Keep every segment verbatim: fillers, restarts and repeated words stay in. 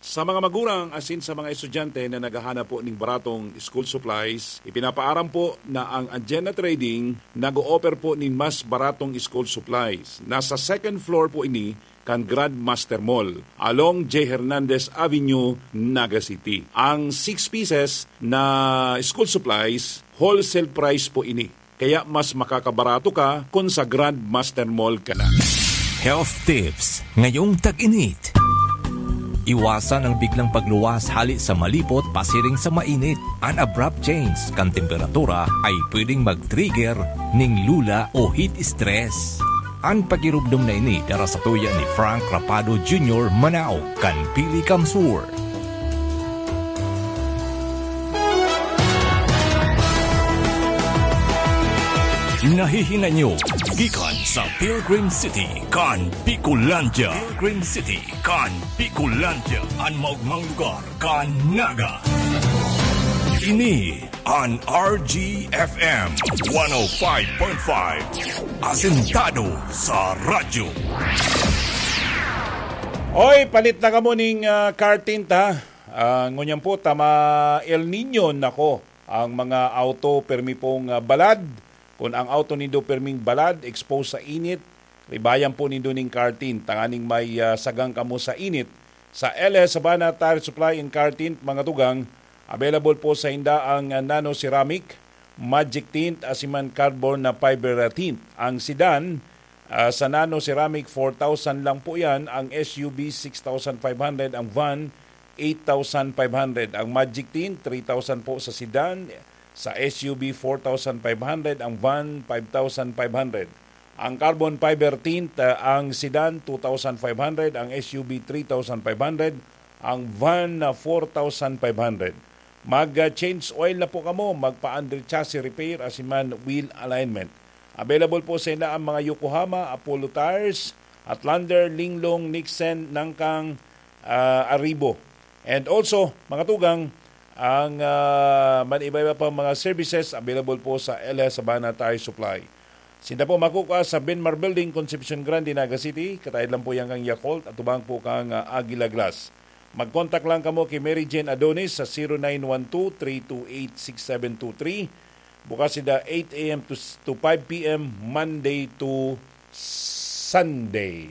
Sa mga magurang asin sa mga estudyante na naghahanap po ning baratong school supplies, ipinapaaram po na ang Agenda Trading nag-o-offer po nin mas baratong school supplies. Nasa second floor po ini kan Grandmaster Mall, along J Hernandez Avenue, Naga City. Ang six pieces na school supplies, wholesale price po ini. Kaya mas makakabarato ka kun sa Grandmaster Mall ka na. Health tips ngayong tag-init. Iwasan ang biglang pagluwas hali sa malipot pasiring sa mainit. An abrupt change kan temperatura ay pwedeng mag-trigger ning lula o heat stress. An pakirumdom na ini dara sa tuya ni Frank Rapado Junior, Manao, kan Pili Kamsur. Nahihinanyo gikan sa Pilgrim City kan Bicolandia. Pilgrim City kan Bicolandia, an maogmang lugar kan Naga. Ini an R G F M one oh five point five, asentado sa radyo. Oy, palit na kamo ning, ah, car tint, ha? Ah, ngunyan po, tama El Niño, nako, ang mga auto permi pong, ah, balad. Kun ang auto nindo perming balad, exposed sa init, ribayan po nindo ning car tint, tanganing may, ah, sagang kamo sa init. Sa L S Sabana Tire Supply and Car Tint, mga tugang, available po sa inda ang, ah, nano ceramic, magic tint, asin man carbon na fiber, ah, tint. Ang sedan, ah, sa nano ceramic, four thousand lang po yan. Ang S U V, six thousand five hundred. Ang van, eight thousand five hundred. Ang magic tint, three thousand po sa sedan. Sa S U V, four thousand five hundred. Ang van, five thousand five hundred. Ang carbon fiber tint, ah, ang sedan, two thousand five hundred. Ang S U V, three thousand five hundred. Ang van, ah, four thousand five hundred. Mag, ah, change oil na po kamo, magpa-under chassis repair, asin man wheel alignment. Available po sa inda ang mga Yokohama, Apollo Tires, Outlander, Linglong, Nixon, Nangkang, ah, Arribo. And also, mga tugang, ang, ah, man iba-iba pang mga services available po sa L S Sabana Tire Supply. Sinda po makukua sa Benmar Building, Concepcion Grande, Naga City. Kataed lang po yan kan Yakult, atubang po kan, ah, Aguila Glass. Mag-contact lang kamo ki Mary Jane Adonis sa zero nine one two, three two eight, six seven two three. Bukas sinda eight a m to, to five p m, Monday to Sunday.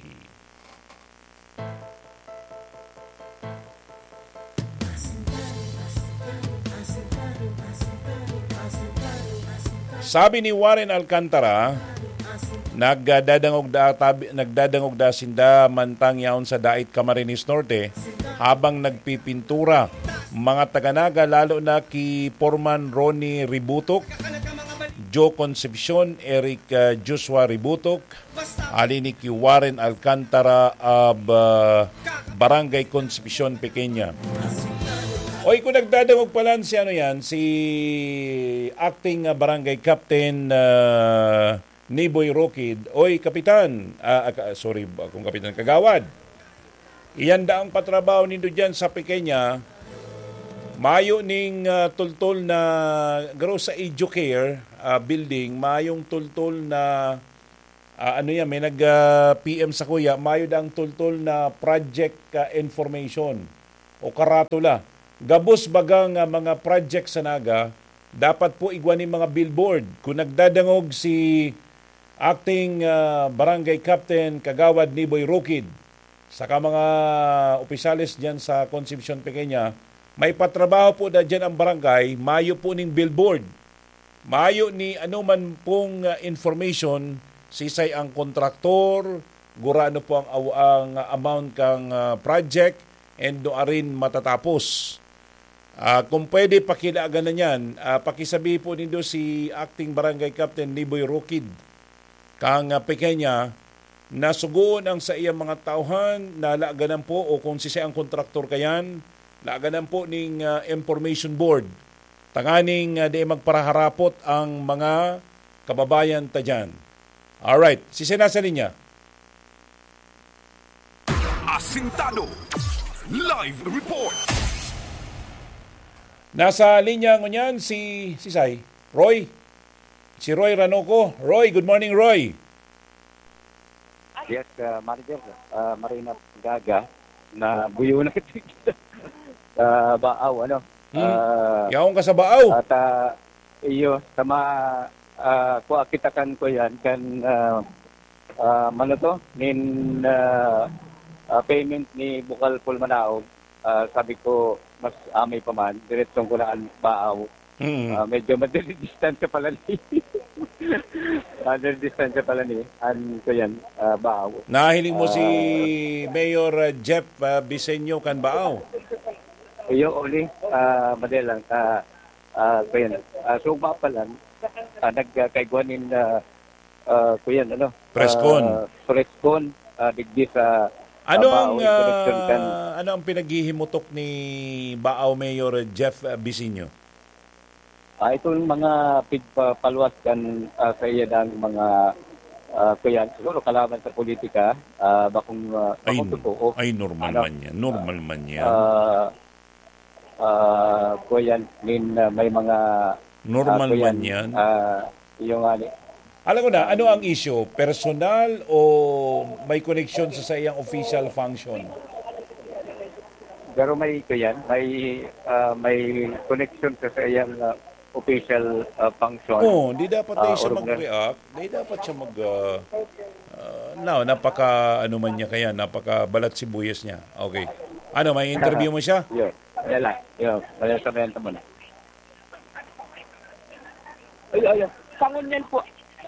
Sabi ni Warren Alcantara, nagdadangog da, tabi, nagdadangog da sinda mantang yaon sa Dait, Camarines Norte, habang nagpipintura. Mga taga Naga, lalo na ki Foreman Ronnie Ributok, Joe Concepcion, Eric, ah, Joshua Ributok, ali ni ki Warren Alcantara of, ah, Barangay Concepcion Pequeña. Oy, kung nagdadangog palan si ano yan, si acting, ah, barangay captain, ah, Niboy Rokid. Oy, kapitan, ah, ah, ka-, sorry, akong kapitan, kagawad. Iyan daang patrabaho nindo diyan sa Pequeña. Mayo ning, ah, tultol na, garo sa Educare, ah, building, mayong tultol na, ah, ano yan, may nag, ah, P M sa kuya, mayo daang tultol na project, ah, information o karatula. Gabos baga nga mga project sa Naga, dapat po igwa nin mga billboard. Kung nagdadangog si acting, ah, barangay captain, Kagawad Niboy Rokid, saka mga opisyales diyan sa Concepcion Pequeña, may patrabaho po na diyan ang barangay, mayo po ning billboard. Mayo ni anoman pong, ah, information, sisay ang kontraktor, gurano po ang aw-, ang amount kang, ah, project, and nuarin matatapos. Ah, kung pwede, pakilaaganan yan. Ah, pakisabi po nindo si Acting Barangay Captain Niboy Rokid, kang, ah, Pequeña, na sugoon ang saiyang mga tauhan na laaganan po o kung sisay ang kontraktor kayan, laaganan po ning, ah, information board. Tanganing, ah, di magparaharapot ang mga kababayan ta dyan. Alright, sisay na sa linya? Asintado. Live report. Nasa linya ngunyan si, si Sai, Roy. Si Roy Ranoco. Roy, good morning, Roy. Yes, uh, Manager, uh, Marina Gaga. na buyo na kita sa Baaw, ano. Hmm. Ah, Yaon ka sa Baaw? At, ah, iyo, sa ma-, ah, kua kita kan, kuyan, kan, ah, ah, ano to? Nin, ah, ah, payment ni Bukal Paul Manaog, ah, sabi ko, mas amay pa man, diretsong ko na an Baaw. Mm. Ah, medyo madali distansya pala ni, madali distansya pala ni, an, kuyan, ah, Baaw. Nahiling mo si Ah, Mayor, ah, Jeff, ah, Bisenyo kan Baaw? Iyo, Oli, ah, madali lang. Ah, ah, kuyan, ah, sugma pa lang, ah, nagkaigwa nin, ah, ah, kuyan, ano, Preskon. ah, preskon, ah, digdi sa, Ano ah, ang, Baaw, in connection kan ah, ano ang pinaghihimutok ni Baaw Mayor Jeff, ah, Bisinyo? Ah, itong mga pigpapaluwas kan, ah, sa iya ng mga, ah, kuyan, siguro kalaban sa politika, ah, bakong, ah, Ay, bakong totoo. Ay, normal Ano? man yan. Normal man yan. Ah, ah, kuyan, min, ah, may mga, Normal ah, kuyan, man yan. ah, yung, ah, Alam ko na, ano ang issue? Personal o may koneksyon sa saiyang official function? Pero may, kuyan, may, ah, may connection sa, sa iyang, ah, official, ah, function. Oo, di dapat Ah, tayo siya organ- mag-react. Di dapat siya mag, ah, ah, no, napaka, ano man niya kaya, napaka balat sibuyas niya. Okay. Ano, may interview mo siya? Yun. Wala lang. Yun. Wala sa benta mo na. Ay, ay, ay. Sa ngunyan po,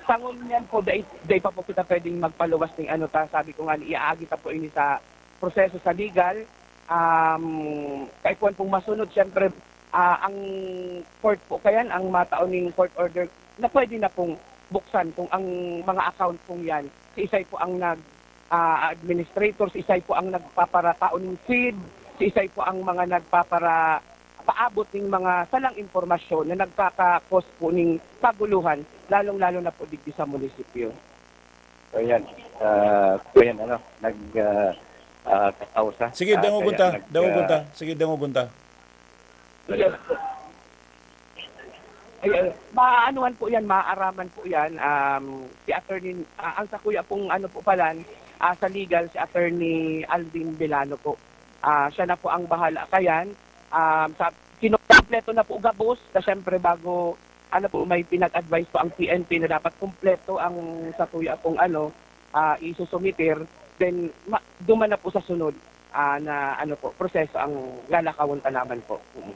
sa ngunyan po, dai, dai pa po kita pwedeng magpaluwas ning ano ta. Sabi ko nga, iaagi ta po ini sa proseso sa legal. Um, kaipuhan pong masunod, siyempre, ah, ang court po, kayan, ang matao ning court order na pwede na pong buksan kung ang mga account pong yan, si isay po ang nag, ah, administrator, si isay po ang nagpaparatao ning seed, si isay po ang mga nagpapara-, paabot ning mga salang impormasyon na nagkaka-cause po ning kaguluhan, lalong-lalo na po digdi sa munisipyo. So, yan. Ah, so, yan, ano, nag, ah, ah, kakausa. Sige, Ah, dangogon kaya ta. nag, Dangogon ah, ta. Sige, dangogon ta. Yes. Ay, ay, maaanuhan po yan, maaaraman po yan. Um, si attorney, ah, ang sa kuya pong ano po palan, ah, sa legal, si Attorney Alvin Belano po. Ah, siya na po ang bahala kayan. Um, sa, kinukumpleto na po gabos, na siyempre bago, ano po, may pinag-advise po ang P N P na dapat kumpleto ang sa kuya pong ano, ah, isusumiter, then ma-, duman na po sa sunod, ah, na ano po, proseso ang lalakawon ta naman po. Mm.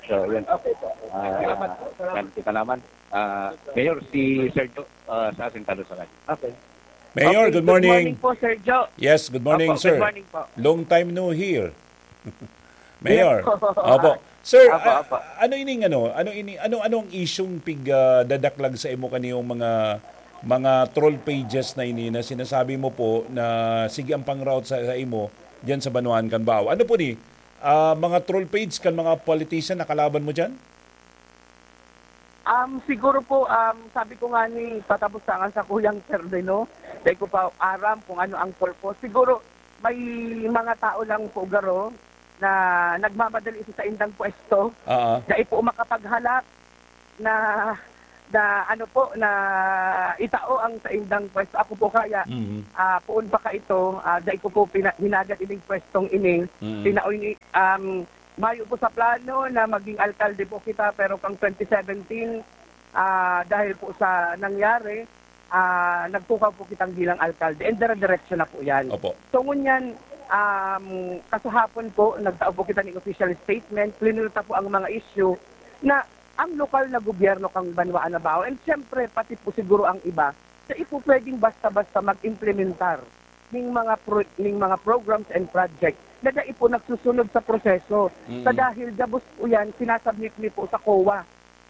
So, yun. Okay po. Ah, Salamat po. Salamat. Kan kita naman. Ah, Mayor, si Sergio, ah, sa Asintado sa Radyo. Okay. Mayor, Okay, good good morning. morning po, Sir Joe. Yes, good morning, Opo, sir. Good morning po. Long time no hear. Mayor. Yes po. Opo. Sir, Opo, ah, opo. ano ining ano? Ano ini, ano, anong isyung pig, ah, dadaklag sa imo kaniyong mga, mga troll pages na ini na sinasabi mo po na sige ang pangraot sa, sa imo diyan sa banwaan kan Baaw? Ano po ni? Ah, mga troll page kan mga politician na kalaban mo diyan? Um, siguro po, um, sabi ko nga ni, patapos sa nga sa kuyang termino, dahil ko pa aram kung ano ang purpose. Siguro, may mga tao lang po, garo, na nagmamadali sa saindang pwesto, Oo. na ipo makapaghalak na, na ano po, na itao ang saindang pwesto. Ako po kaya, Mhm. ah, poon pa ka ito, ah, dai ko po pina-, hinagad ining pwestong ini. Mhm. Tinaoy ni, um, mayo po sa plano na maging alkalde po kita, pero kang twenty seventeen, ah, dahil po sa nangyari, ah, nagtukaw po kitang bilang alkalde. And dire-diretso na po yan. Opo. So, ngunyan, um, kasahapon po, nagtao po kita ng official statement, plinirta po ang mga issue na ang lokal na gobyerno kang Banwa Anabao, and siyempre, pati po siguro ang iba, na ipo pwedeng basta-basta mag-implementar ning mga pro-, ning mga programs and project na dai po nagsusunod sa proseso. Mm. Sa dahil gabos po yan, sinasubmit mi po sa COA.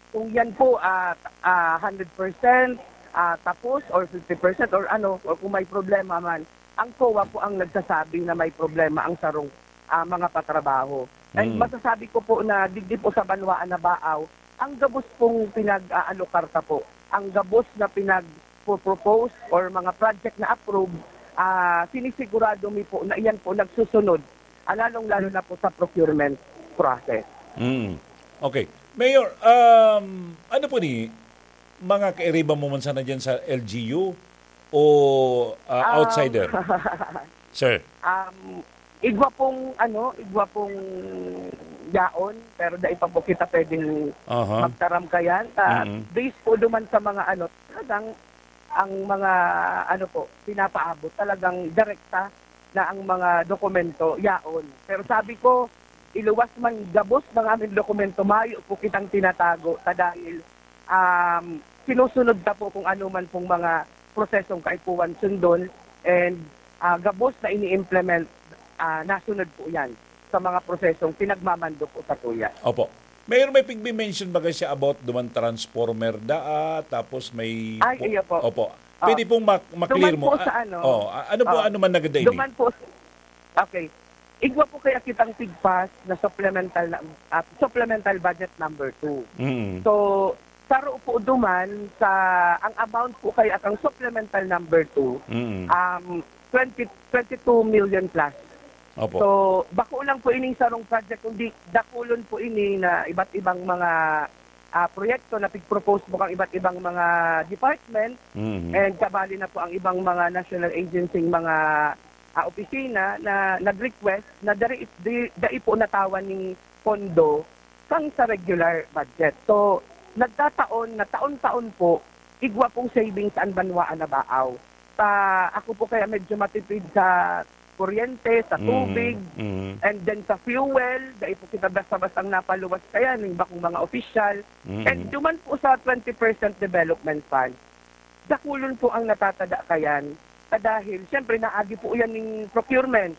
Kung yan po, ah, ah, hundred percent, ah, tapos or fifty percent or ano, or kung may problema man, ang COA po ang nagsasabi na may problema ang sarong, ah, mga patrabaho. And Mm. masasabi ko po na digdi po sa Banwaan na Baaw, ang gabos pong pinag-aalokar ta po, ang gabos na pinag-propose or mga project na approve, ah, sinisigurado mi po na iyan po nagsusunod, ah, lalong-lalo na po sa procurement process. Mm. Okay. Mayor, um, ano po ni, mga kairiba mo man sana dyan sa L G U o, ah, Um, outsider? Sir. Um, igwa pong, ano, igwa pong yaon, pero dai pa po kita pwedeng Aha. magtaram kayan. Ta, Mm. based po duman sa mga, ano, talagang ang mga, ano po, pinapaabot, talagang direkta na ang mga dokumento, yaon. Pero sabi ko, iluwas man gabos ng aming dokumento, mayo po kitang tinatago. Ta dahil, um, sinusunod ta po kung ano man pong mga prosesong kaipuhan sundon, and, ah, gabos na ini-implement, ah, nasunod po yan sa mga prosesong pinagmamando po sa tuya. Opo. Mayor, may pigbi-mention ba kasi about duman transformer daa, tapos may Ay, po iyo po. Opo. Ah, Pwede pong mak- maklear duman mo. po Ah, sa ano, oh, ah, ano po, ah, ano man nagada ini? duman po sa, okay. Igwa po kaya kitang pigpas na supplemental na, ah, supplemental budget number two. Mm. So, saro po duman sa, ang amount po kaya kang supplemental number two, Mm. um, twenty, twenty-two million plus. Opo. So, bako lang po ining sarong project, kundi dakulon po ini na iba't ibang mga, ah, proyekto na pig-propose po kang iba't ibang mga department, Mhm. and kabali na po ang ibang mga national agency, mga, ah, opisina na nag-request na dari, di, dai po natawan ning pondo kang sa regular budget. So, nagkataon na taon-taon po, igwa pong savings an banwaan na baaw. Sa, ako po kaya medyo matipid sa kuryente, sa Mm, tubig, mm. and then sa fuel, dai po kita basta-bastang napaluwas kaya ning bakong mga opisyal. Mm. And duman po sa twenty percent development fund, dakulon po ang natatada kayan. Sa dahil, siyempre, naagi po yan ning procurement.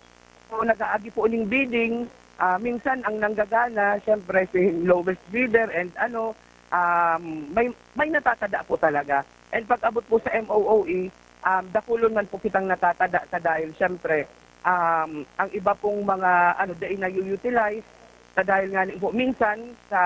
So, nag-aagi po ning bidding. Ah, minsan, ang nanggagana, siyempre, si lowest bidder and ano, um, may, may natatada po talaga. And pag-abot po sa M O O E, um, dakulon man po kitang natatada sa dahil, siyempre, um, ang iba pong mga, ano, dai na-utilize, sa dahil nga po, minsan, sa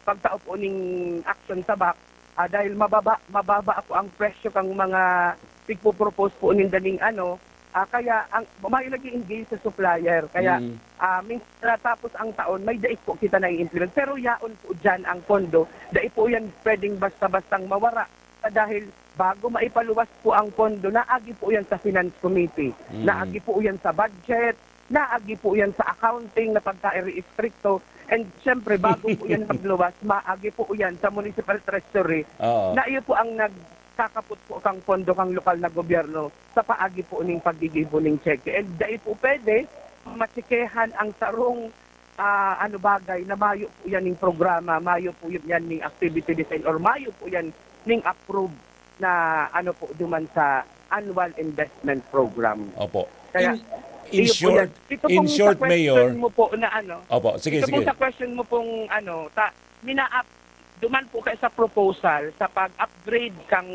pagtao po ning action sa back, ah, dahil mababa, mababa po ang presyo kang mga pigpo-propose po ninda ning ano, ah, kaya ang, mayo nag-i-engage sa supplier. Kaya, Mm. ah, minsan natapos ang taon, may dai po kita nai-implement. Pero yaon po dyan ang pondo. Dai po yan pwedeng basta-bastang mawara. Sa dahil bago maipaluwas po ang pondo, naagi po yan sa Finance Committee. Mm. Naagi po yan sa budget. Naagi po yan sa accounting na pagka-iri-estrikto. And siyempre, bago po yan magluwas, maagi po yan sa Municipal Treasury. Oo. Na iyo po ang nagkakapot po kang pondo kang lokal na gobyerno sa paagi po ning paggigibo ning cheque. And dai po pwede matsekehan ang sarong, ah, ano, bagay na mayo po yan ning programa, mayo po yan ning activity design, or mayo po yan ning approve na, ano po, duman sa annual investment program. Opo. Kaya, In, in iyo po short, yan. Ito in pong sa short, question Mayor. mo po na ano, Opo, sige, ito pong sige. sa question mo pong ano, ta, mina-up, duman po kayo sa proposal sa pag-upgrade kang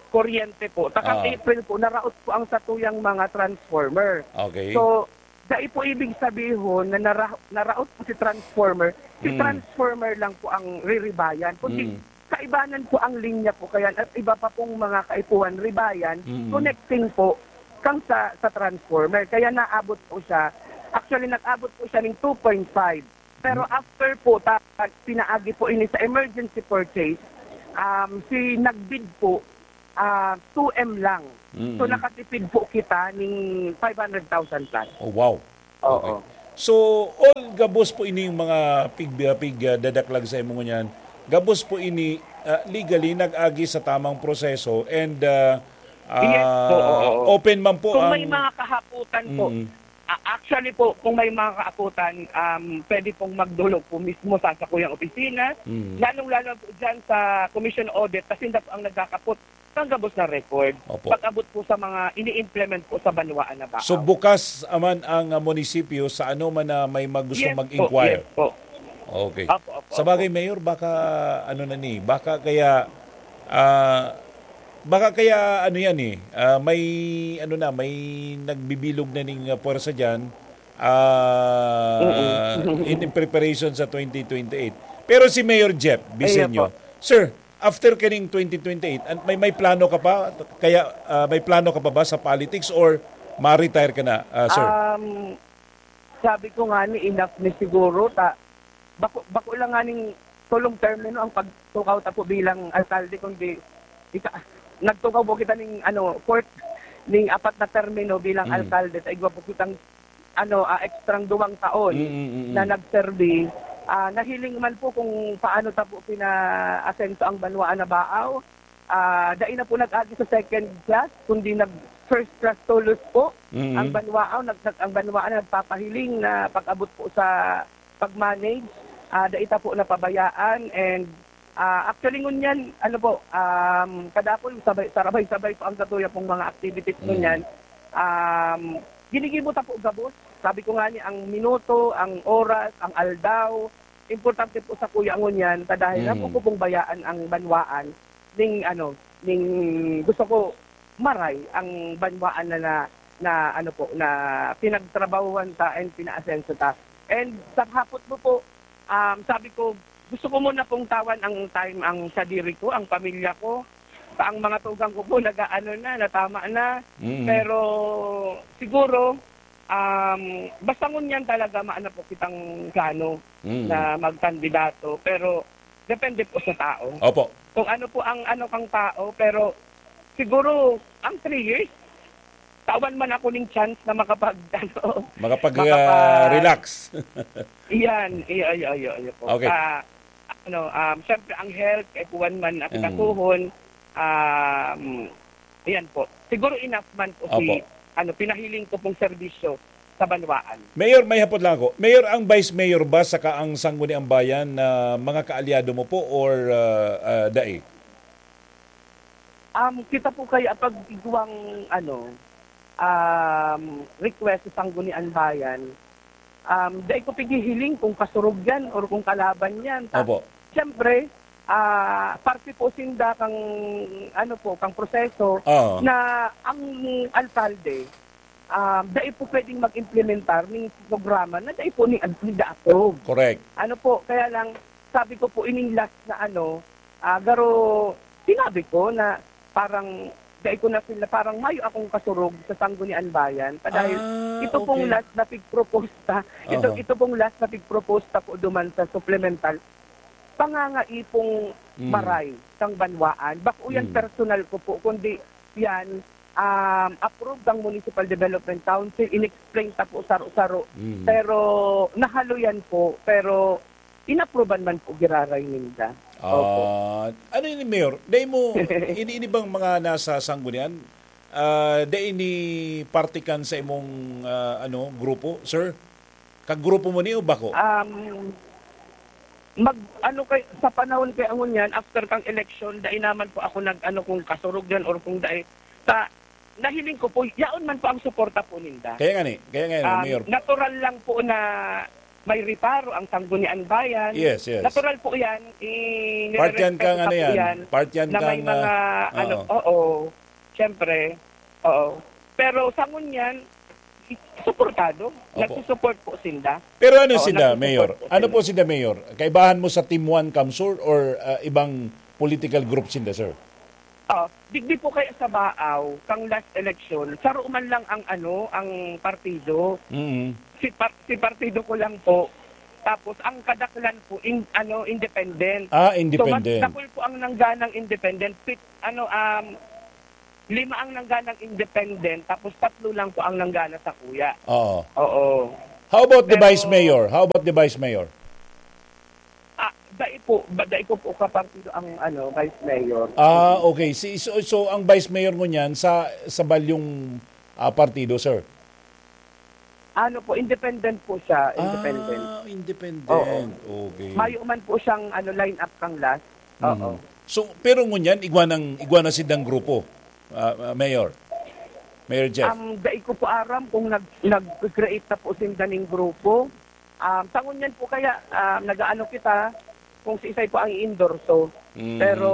kuryente po. Takang Ah. April po, naraot po ang satuyang mga transformer. Okay. So, dai po ibig sabihon na nara-, naraot po si transformer. Si Mm. transformer lang po ang riribayan. Kundi Mm. kaibanan po ang linya po kaya at iba pa pong mga kaipuhan, ribayan, Mm. connecting po kang sa, sa transformer. Kaya naabot po siya, actually, nag-abot po siya ng two point five. Pero Mm. after po, ta-, pinaagi po ini sa emergency purchase, um, si nagbid po, ah, two M lang. Mm. So, nakatipid po kita ning five hundred thousand plus. Oh, wow. Oo. Okay. So, all gabos po ining mga pig-, pig-, ah, dadaklag sa imo ngunyan, gabos po ini, ah, legally nag-agi sa tamang proseso and, ah, Yes po, ah, oo. open man po Kung may ang mga kahaputan po, Mm. ah, actually po, kung may mga kahaputan, um, pwede pong magdulog po mismo sa sakuyang opisina, Mm. lalong-lalo po dyan sa Commission Audit, kasi sila po ang nagkakapot ng gabos na record. Opo. Pag-abot po sa mga ini-implement po sa banwaan na baaw. So, bukas man ang, ah, munisipyo sa ano man na may mag-, gustong Yes po, mag-inquire? yes po. Okay. Opo, opo, Sa bagay, opo. Mayor, baka ano na ni, baka kaya, ah, baka kaya ano yan eh, ah, may ano na, may nagbibilog na ning, ah, puwersa dyan, ah, Mm-mm. in, in preparation sa twenty twenty-eight. Pero si Mayor Jeff Ayan Bisenyo, po. Sir, after kaning twenty twenty-eight, an-, may, may plano ka pa? Kaya, ah, may plano ka pa ba sa politics or ma-retire ka na, ah, sir? Um, sabi ko nga ni, enough ni siguro. Ta-, bako, bako lang nga ning tulong termino ang pagtukaw ta po bilang alkalde, kundi ika-, nagtukaw po kita ning, ano, fourth, ning apat na termino bilang Mm. alkalde, sa igwa po kitang, ano, ah, ekstrang duwang taon Mm, mm, mm, mm. na nagserbi. Ah, nahiling man po kung paano ta po pina-asenso ang banwaan na Baao. Ah, dai na po nag-agi sa second class, kundi nag-first class tolos po Mm. ang banwaan. Nag-, nag-, ang banwaan na nagpapahiling na pag-abot po sa pag-manage, ah, dai ta po napabayaan and, ah, actually ngunyan, ano po, um, kadakul sabay, sarabay-sabay po ang satuya pong mga activities Mm. ngunyan. Um, ginigibo ta po gabos. Sabi ko nga ni, ang minuto, ang oras, ang aldaw, importante po sakuya ngunyan, ta dahil Mm. ako po pong bayaan ang banwaan, ning ano, ning gusto ko maray ang banwaan na, na, na ano po, na pinagtrabahuhan ta and pinaasenso ta. And sa hapot mo po, um, sabi ko, gusto ko muna pong tawan ang time, ang sadiri ko, ang pamilya ko. Sa ang mga tugang ko po, nag-aano na, natama na. Mm. Pero siguro, um, basta ngunyan talaga maana po kitang plano Mm. na magkandidato. Pero depende po sa tao. Opo. Kung ano po ang ano kang tao, pero siguro ang three years, tawan man ako ning chance na makapag-, ano, Makapag, makapag- ah, relax. Iyan, iyo, iyo, iyo, iyo po. Okay. Ah, ano, um, syempre, ang health, kay kuwan man, at Mm. kakuhon, um, ayan po. Siguro enough man po si, Opo. ano, pinahiling ko pong serbisyo sa banwaan. Mayor, may hapot lang ako. Mayor, ang Vice Mayor ba saka ang Sangguniang Bayan na mga kaalyado mo po or, ah, ah, dai? Um, kita po kaya pag igwang, ano, um, request sa Sangguniang Bayan, um, dai ko pighihiling kung kasurog yan or kung kalaban yan. Ta-, Opo. siyempre, ah, parte po sinda kang, ano po, kang proseso Oo. na ang alkalde, um, dai po pwedeng mag-implementar ning programa na dai po ni, ni approve. Correct. Ano po, kaya lang, sabi ko po, ining last na ano, ah, garo, sinabi ko na parang, dai ko na feel na parang mayo akong kasurog sa Sangguniang Bayan. Pa dahil Ah, ito pong okay. last na pigproposta, ito, Aha. ito pong last na pigproposta po duman sa supplemental, pangangaipong Mm. maray kang banwaan. Bako yan Mm. personal ko po, kundi yan, um, approve ng Municipal Development Council, in-explain ta po saro-saro. Mm. Pero nahalo yan po, pero inapruban man po giraray ninda. Opo. Ah, ano yun, Mayor? Dai mo, ini, ini bang mga nasa sanggunian? Ah, dai ini parte kan sa imong, ah, ano, grupo, sir? Kagrupo mo ni o bako? Um, mag, ano kay, sa panahon kay angon yan, after kang eleksyon, dai naman po ako nag, ano, kung kasurog yan or kung dai. Sa, nahiling ko po, yaon man po ang suporta po ninda. Kaya nga ni, kaya nga ni, Um, Mayor. natural lang po na may reparo ang Sangguniang Bayan. Yes, yes. Natural po yan. I-, Part yan nirerespeto kang, ano ko po yan, yan, part yan na may kang, mga, ah, ano, oo. oo, siyempre, oo. Pero sa ngunyan, suportado. Opo. Nagsusupport po sinda. Pero ano Oo, sinda, nagsusupport Mayor? po Ano sila. po sinda, Mayor? Kaibahan mo sa Team One, Kamsur, or, ah, ibang political group sinda, sir? Oh, digdi po kaya sa Baaw, kang last election, saro man lang ang ano, ang partido. Mm. Si par-, si partido ko lang po. Tapos ang kadaklan po, in-, ano, independent. Ah, So, mas independent. dakul po ang nangganang independent. Pit-, ano, um, lima ang nangganang independent, tapos tatlo lang po ang nanggana sa kuya. Oo. Oo. How about the Pero Vice Mayor? How about the Vice Mayor? Ah, dai po, ba, dai ko po kapartido ang, ano, Vice Mayor. Ah, okay. Si, so, so, ang Vice Mayor ngunyan sa, sa balyong, ah, partido, sir? Ano po, independent po siya, independent. Ah, independent. Oo. Okay. Mayo man po siyang, ano, line up kang last. Oo. Mhm. So, pero ngunyan, igwa nang, igwa na sindang grupo, ah, ah, Mayor? Mayor Jeff? Um, dai ko po aram kung nag-, nag-create na po sinda ning grupo. Um, sa ngunyan po kaya, um, nag-aano kita kung si Isay po ang i-endorso. Mhm. Pero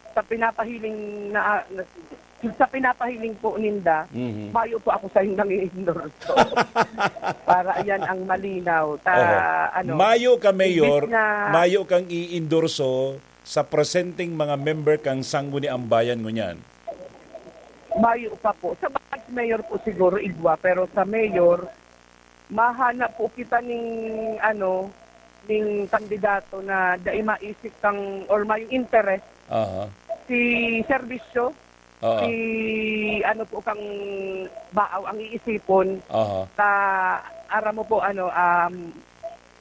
sa pinapahiling na, na, sa pinapahiling po ninda, Mhm. mayo po ako sa nang i-endorso. Para yan ang malinaw. Ta-, Oho. ano, Mayo ka, Mayor, imbis na mayo kang i-endorso sa presenteng mga member kang Sangguniang Bayan ngunyan? Mayo pa po. Sa Vice Mayor po siguro, igwa, pero sa Mayor, mahanap po kita ning, ano, ning kandidato na dai maisip kang, or may interest Aha. si serbisyo, Oo. Si ano po kang Baaw ang iisipon. Aha. Sa aram mo po, ano, um,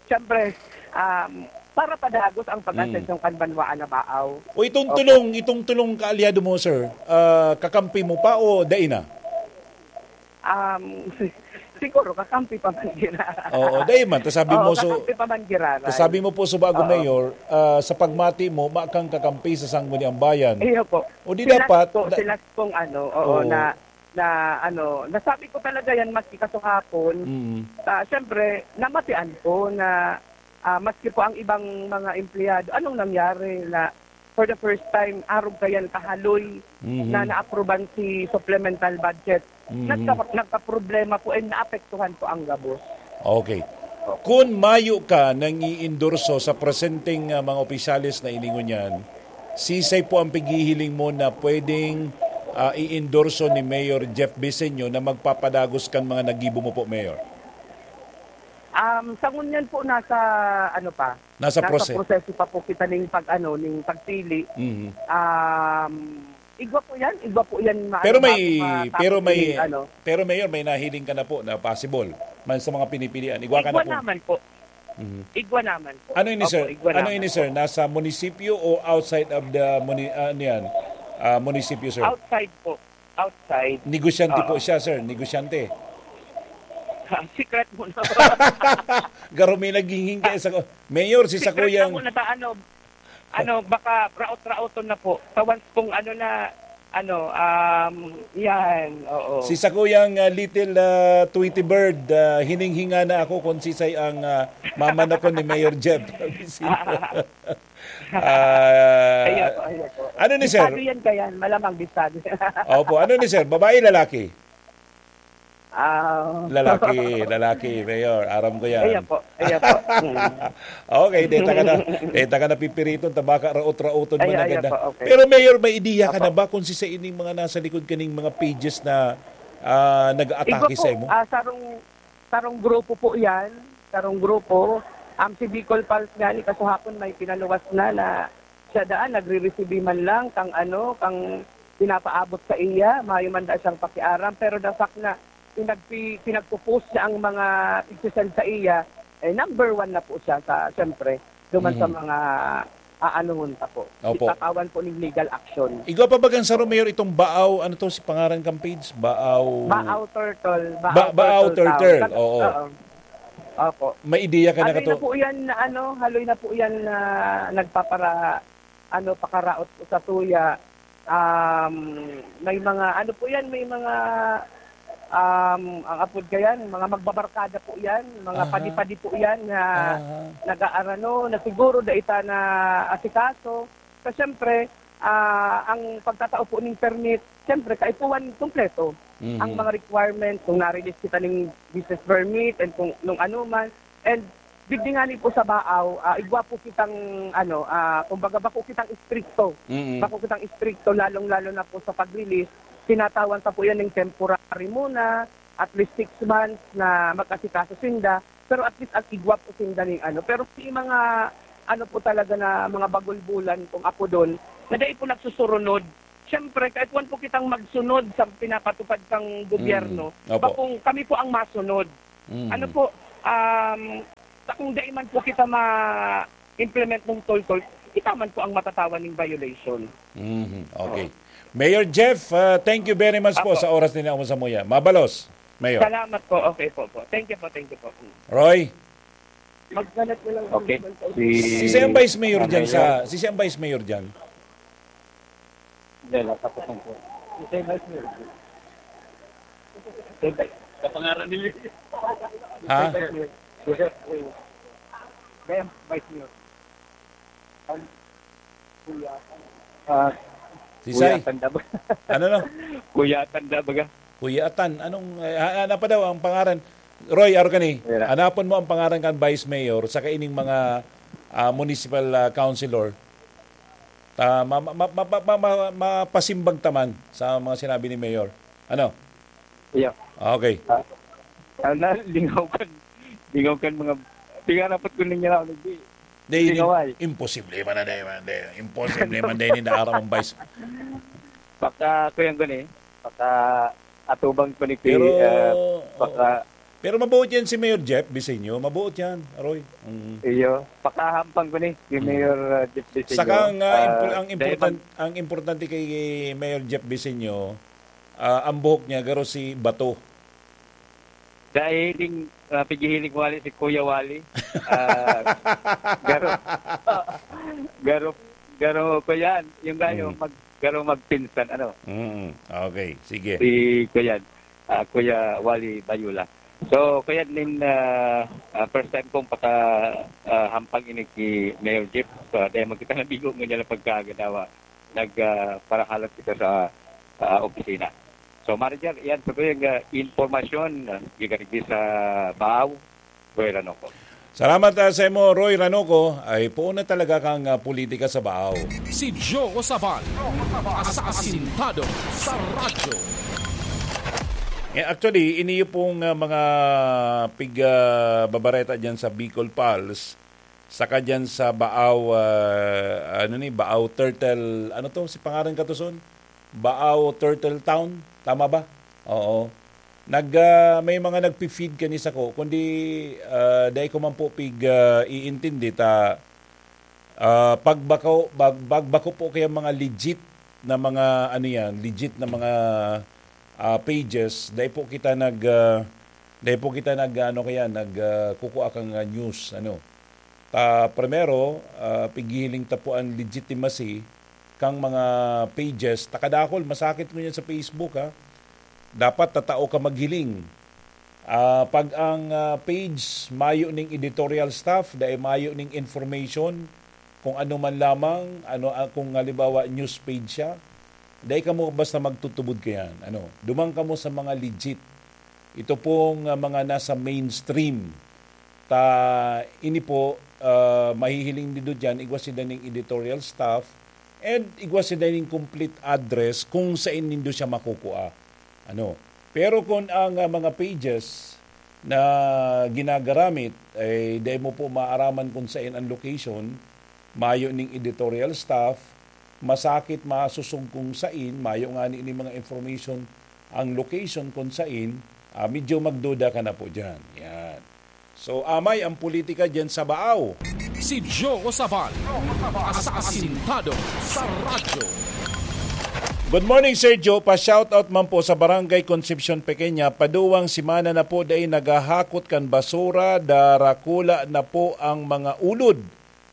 siyempre, um, para padagos ang pag-asensyon kan banwaan na Baaw. O itong Opo. tulong, itong tulong kaalyado mo, sir, ah, kakampi mo pa o dai na? Um, siguro kakampi pa man giraray. Oo, dai man. Ta sabi Oo, mo, so, kakampi pa man giraray. ta sabi mo po, so, bago Oo. mayor, ah, sa pagmati mo, ma kang kakampi sa Sangguniang Bayan. Iyo po. O di Sila dapat, po, da- sila pong ano, oo, Oo. na, na ano, nasabi ko talaga yan maski kasuhapon. Mm. Ah, siyempre, namatian ko na, ah, maski po ang ibang mga empleyado, anong nangyari na for the first time, arog kayan kahaloy Mhm. na naapruban si supplemental budget. Mhm. Nagka-, nagkaproblema po and naapektuhan po ang gabos. Okay. Kun mayo ka nang-iindorso sa presenteng, ah, mga opisyales na ini ngunyan, sisay po ang pighihiling mo na pwedeng, ah, iindorso ni Mayor Jeff Biseño na magpapadagos kan mga nagibo mo po, Mayor? Um, sa ngunyan po, nasa ano pa? Nasa Nasa prose- proseso pa po kita ning pag-ano, ning pagpili. Mhm. Um, igwa po yan, igwa po yan ma-, Pero ano, may, ma-, pero may, mapapapiling, ano. pero Mayor, may nahiling ka na po na possible man sa mga pinipilian. Igwa ka na Igwa po. naman po. Mhm. Igwa naman po. Ano ini, Opo, sir? igwa Ano naman ini, po. sir? Nasa munisipyo o outside of the muni-, ah, ano yan? Ah, munisipyo, sir? Outside po. Outside. Negosyante po Oo. siya, sir. Negosyante. Ah, secret muna. Garo may naghinghing kaya sa ko-, Mayor, si Secret Sakuyang lang muna ta, ano, ano, baka raot-raoton na po. Sa once pong ano na, ano, um, yan, oo. Si Sakuyang, ah, little, ah, Tweety Bird, ah, hininghinga na ako kung sisay ang, ah, mamanakon ni Mayor Jeff. Ah, Ayun po, ayun po. ano ni sir? Bisado yan kayan, malamang bisado. Opo, ano ni sir? Babae, lalaki? Ah. Lalaki, lalaki, Mayor. Aram ko yan. Ayun po, ayun po. Mm. Okay, data ka na. Data ka na pipiriton, tabaka raot-raoton Ay, man ayun agad na. po, okay. Pero Mayor, may ideya ka Opo. na ba kung sisay ining mga nasa likod kaning mga pages na, ah, Igwa nag-aatake po, sa imo? ah, sarong, sarong grupo po yan. Sarong grupo. Ang si Bicol Pulse nga ni kasuhapon may pinaluwas na, na siya daan, nagre-resibi man lang kang ano, kang pinapaabot sa iya, mayo man daa siyang pakiaram. Pero the fact na pinagpi-, pinagpo-post niya ang mga igsisend sa iya, eh, number one na po siya sa, siyempre, duman sa Mm. mga aanuhon pa po. Opo. Itatawan po ning legal action. Igwa pa bagang saro, Mayor, itong Baaw, ano to, si pangaran kang page? Baaw Baaw Turtle, Baaw Ba-, Baaw Turtle Turtle, Town. oo. Oo. Opo. May ideya ka na Haloy kato- na po yan na ano, haloy na po yan na nagpapara-, ano, pakaraot po sa tuya. Um, may mga, ano po yan, may mga, um, ang apod kayan, mga magbabarkada po yan, mga Aha. padi-padi po yan na Aha. nag-aarano, na siguro dai ta na asikaso. So, siyempre, ah, ang pagtatao po ning permit, siyempre, kaipuhan kompleto Mhm. ang mga requirements, kung na-release kita ning business permit, and kung nung ano man. And digdi ngani po sa Baaw, ah, igwa po kitang, ano, ah, kumbaga, bako kitang istrikto. Mm. Bako kitang istrikto, lalong-lalo na po sa pag-release. Tinatawan ta po yan ng temporary muna, at least six months na mag-asikaso sinda. Pero at least, at igwa po sinda ning ano. Pero may mga, ano po talaga na mga bagulbulan, kung apodon, na dai po nagsusurunod. Siyempre, kaipuhan po kitang magsunod sa pinapatupad kang gobyerno. Mm. Opo. Bakong kami po ang masunod. Mm. Ano po, um, sa kung dai man po kita ma-implement ng toltol, kita man po ang matatawan ng violation. Mhm. Okay. Oo. Mayor Jeff, ah, thank you very much po Apo. sa oras ninyo sa muya. Mabalos, Mayor. Salamat po. Okay po po. Thank you po, thank you po. Mm. Roy? Magkalat na lang Okay. Si Sisay ang Vice Mayor dyan Mayor. sa, sisay ang Vice Mayor dyan? Hindi, wala pa po. Sisay Vice Mayor. Sisay Vice. Kapangaran nila. Ha? Sisay Vice Mayor. Joseph Reyes. Kaya Vice Mayor. Ang Kuya. Ah, Sisay? Kuya Tanda ba? Ano, no? Kuya Tanda baga? Kuya Atan. Anong, eh, ha-, ano pa daw ang pangaran? Roy, aro ka ni? Wala. Hanapon mo ang pangaran kan Vice Mayor sa kaining mga, ah, municipal, ah, councilor. Ta-, ma-, ma-, mapasimbag ta man sa mga sinabi ni Mayor. Ano? Iya. Ah, okay. Ah, sana lingaw kan, lingaw kan mga, tingnan dapat ko ninyo na, hindi. Di, Hindi im-, nga, why? imposible man na, di, di, imposible man na, hindi aram ang Vice. Baka, Kuya Guni, baka atubang ko ni Ki-, Pero, ah, baka oo. Pero mabuot yan si Mayor Jeff Bisenyo. Mabuot yan, Roy. Mm. Iyo, pakahampang ko ni si Mm. Mayor, ah, Jeff Bisenyo. Saka ang, ah, Ah, impor-, ang dahil important-, mag- ang importante kay Mayor Jeff Bisenyo, ah, ang buhok niya, garo si Bato. Dahil, ah, pigihiling wali si Kuya Wali. Ah, garo. Garo, garo ko yan. Yung gayo, Mm. mag-, garo magpinsan, ano? Mm, okay, sige. Si Kuya, ah, Kuya Wally Bayula. So, kaya din, ah, ah, first time kong paka, ah, hampang ini ki Mayor Jeff. So, dahil magkita na bigo ngunyan ang pagkagadawa, nag, ah, parahalat kita sa, ah, opisina. So, Manager, yan, sa tuyang, ah, impormasyon, ah, gikan digdi sa Baaw, Roy Ranoco. Salamat, ah, sa imo, Roy Ranoco. Ay, puon na talaga kang, ah, politika sa Baaw. Si Joe Sabal, asasintado sa radyo. Eh, actually, iniyo pong, ah, mga pig, ah, babareta dyan sa Bicol Pulse, saka dyan sa Baaw, ah, ano ni, Baaw Turtle, ano to, si pangaran ka to, Son? Baaw Turtle Town, tama ba? Oo. Nag, ah, may mga nagpi-feed kani sako, kundi, ah, dai ko man po pig, ah, iintindi ta, ah, pagbako, bag-, pagbako po kaya mga legit na mga, ano yan, legit na mga, ah, pages, dai po kita nag, ah, dai po kita nag, ano kaya, nag, ah, kukua kang, ah, news, ano. Ta, primero, ah, pighihiling ta po an legitimacy kang mga pages. Ta kadakul, masakit ngunyan sa Facebook, ha. Dapat tatao ka maghiling. Ah, pag ang, ah, page mayo ning editorial staff, dai mayo ning information, kung ano man lamang, ano, ah, kung halimbawa news page siya, dai kamo basta magtutubod kayan. Ano, duman kamo sa mga legit. Ito pong, ah, mga nasa mainstream. Ta ini po, ah, mahihiling nindo diyan, igwa sinda ning editorial staff, and igwa sinda ning complete address kung sain nindo siya makukua. Ano? Pero kun ang, ah, mga pages na ginagaramit, eh, dai mo po maaraman kung sain ang location, mayo ning editorial staff, masakit masusog kung sain, mayo ngani ning mga information ang location kung sain, ah, medyo magduda ka na po diyan. Yan. So, amay ang politika diyan sa Baaw. Si Joe Sabal, asasintado sa radyo. Good morning, Sir Joe. Pa-shoutout man po sa Barangay Concepcion Pequeña. Paduwang semana na po dai naghahakot kan basura, darakula na po ang mga ulod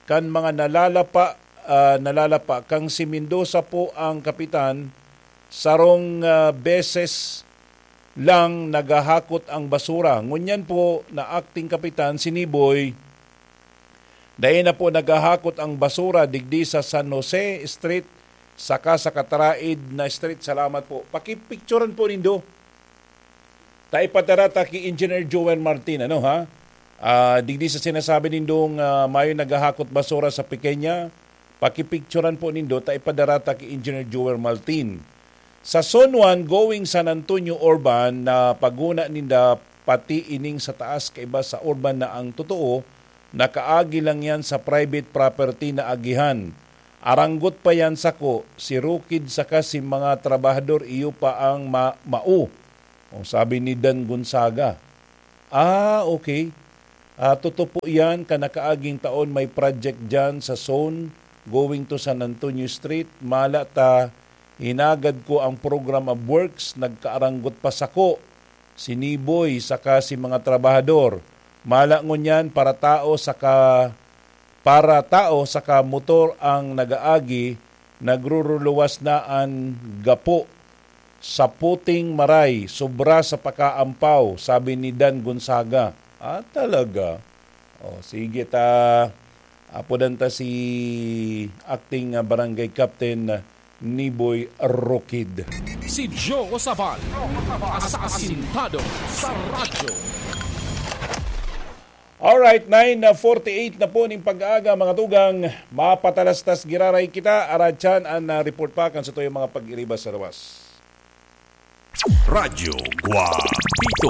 kan mga nalalapa, ah, nalalapa. Kang si Mendoza po ang kapitan, sarong, ah, beses lang naghahakot ang basura. Ngunyan po na acting kapitan, si Niboy, dai na po naghahakot ang basura digdi sa San Jose Street saka sa Kataraid na Street. Salamat po. Pakipicturan po nindo. Ta ipadara ta ki Engineer Joel Martin, ano ha? Ah, digdi sa sinasabi nindong, ah, mayo naghahakot basura sa Pequeña, pakipicturan po nindo, ta ipadara ta ki Engineer Joel Martin. Sa Zone one going San Antonio Urban na paguna ninda, pati ining sa taas kaiba sa urban na ang totoo, nakaagi lang yan sa private property na agihan. Aranggot pa yan sako, si Rukid saka si mga trabahador iyo pa ang ma-, mao. O, sabi ni Dan Gonzaga. Ah, okay. Ah, totoo po yan, kanakaaging taon may project dyan sa zone going to San Antonio Street. Mala ta, hinagad ko ang program of works, nagkaaranggot pa sako, si Niboy, saka si mga trabahador. Mala ngunyan, para tao saka para tao saka motor ang nagaagi, nagruruluwas na an gapo sa puting maray, sobra sa pakaampaw, sabi ni Dan Gonzaga. Ah, talaga? O, sige ta, apodan ta si acting, ah, barangay captain, ah, Niboy Rokid. Si Joe Sabal, asasintado sa radyo. Alright, nine forty-eight na po ning pag-aaga, mga tugang. Mapatalastas giraray kita. Aratyan an, ah, report pa kan sa tuyang mga pag-iriba sa lawas. Radyo Guapito.